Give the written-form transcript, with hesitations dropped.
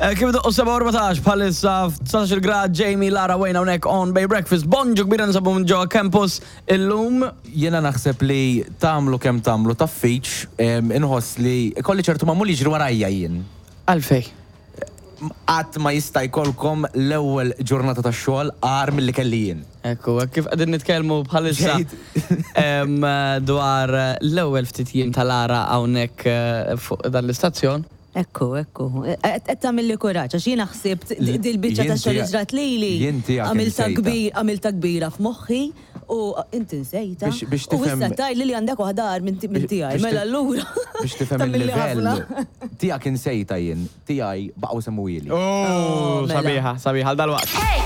Eh, Kif doqqu 7:14 bħalissa f'19 grad Jamie Lara Wayne hawnhekk on Bay Breakfast. Bonġu kbira nsabu minn ġewwa campus illum. Jiena naħseb li tagħmlu kemm tagħmlu taffiċ, inħoss li kolli ċertu magħmul jiġri warajja jien. Għalfej. Qatt ma jista' jkollkom l-ewwel ġurnata ta' xogħol agħar milli kelli jien. Ekku, kif qegħdin nitkellmu bħalissa dwar l-ewwel ftit jiem ta' Lara hawnhekk eh, fuq dan l-istazzjon. Ekku, ekku. Qed tagħmilli kuraġġ għax jiena ħsibt dil-biċċa ta' xogħol li ġrat lili. Għamilta kbir, għamilta kbira f'moħħi u inti nsejta. Biex U issa tgħidli li għandek waħda agħar minn tiegħi. Mela allura. Biex tifhem il-livell. Tiegħek insejta jien, tiegħi baqgħu semmuhieli. Oh, sabiħa, sabiħa għal dalwaqt.